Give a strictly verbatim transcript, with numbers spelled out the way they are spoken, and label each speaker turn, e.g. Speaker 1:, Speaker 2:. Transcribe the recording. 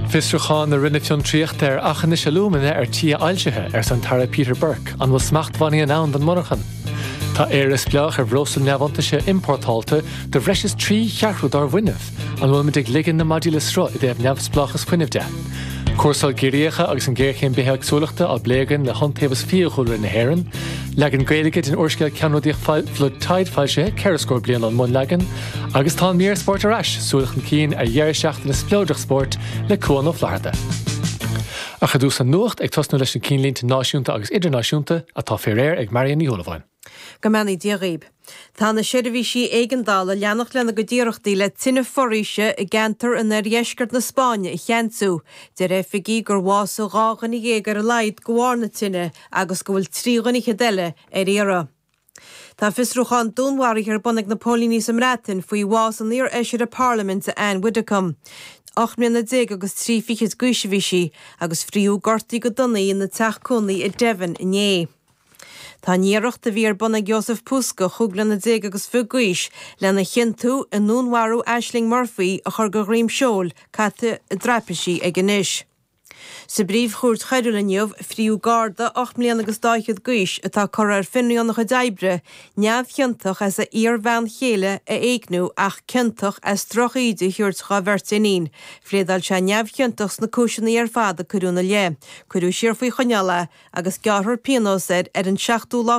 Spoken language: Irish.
Speaker 1: Fiosrúchán na Roinne Fiontraíochta ar aughinish alúmana ar tí ailsithe ar an tAire Peter Burke an bhfuil smachtbhannaí in ann don monarchan. Tá Éire spleách ar bhreosla neamhiontaise iompórtáilte do bhreis is trí cheathrú dár bhfuinneamh, an bhfuil ag ligean na maidí le sruth i dtaobh neamhspleáchas fuinnimh de. Cúrsaí giorriacha agus an géarchéim bithéagsúlachta á bplé againn le hIontaobhas Fiadhúlra na hÉireann, Leagan Gaeilge den úrscéal ceannródaíoch Flood Tide foilsithe ceithre scór bliain ón mbunleagan, agus tá an mír spóirt ar ais súil chun cinn ar dheireadh seachtaine spleodrach spóirt le Cuan Ó Flatharta. Ach ar dtús an nuacht ag tosnú leis na cinnlínte náisiúnta agus idirnáisiúnta atá fé réir ag Marion Ní Shúilleabháin.
Speaker 2: Go mbeannaí Dia dhaoibh. Tá na seirbhísí éigeandála ag leanacht lena gcuid iarrachtaí le tine foraoise i gceantar in oirdheisceart na Spáinne a cheansú. Deir oifigigh gur bhásaigh dhá dhuine dhéag ar a laghad de bharr na tine agus go bhfuil trí dhuine fhichead eile ar iarraidh. Tá fiosrúchán dúnmharaithe ar bun ag na póilíní sa mBreatain faoi bhás an iar-fheisire Parlaiminte Anne Widdecombe. Ocht mbliana déag agus trí fichid d'aois a bhí sí agus fríothadh gortaí go dona í ina teach cónaí i Devon inné. Tá an iarracht a bhí ar bun ag Jozef Puska chúig bliana déag agus fiche d'aois lena chiontú i ndúnmharú Ashling Murphy a chur de dhroim seoil caite i dtraipisí aige anois. Sa bpríomhchúirt choiriúil inniu fríothadh Garda ocht mbliana agus dá fhichead d'aois atá curtha ar fionraí óna chuid oibre, neamhchiontach as a iar-bhean chéile a éigniú ach ciontach as drochíde a thabhairt dá bheirt iníon. Phléadáil sé neamhchiontach sna cúiseanna ar fad a cuireadh ina leith. Cuireadh siar faoi choinneáil é agus gearrfar pionós air ar an seachtú lá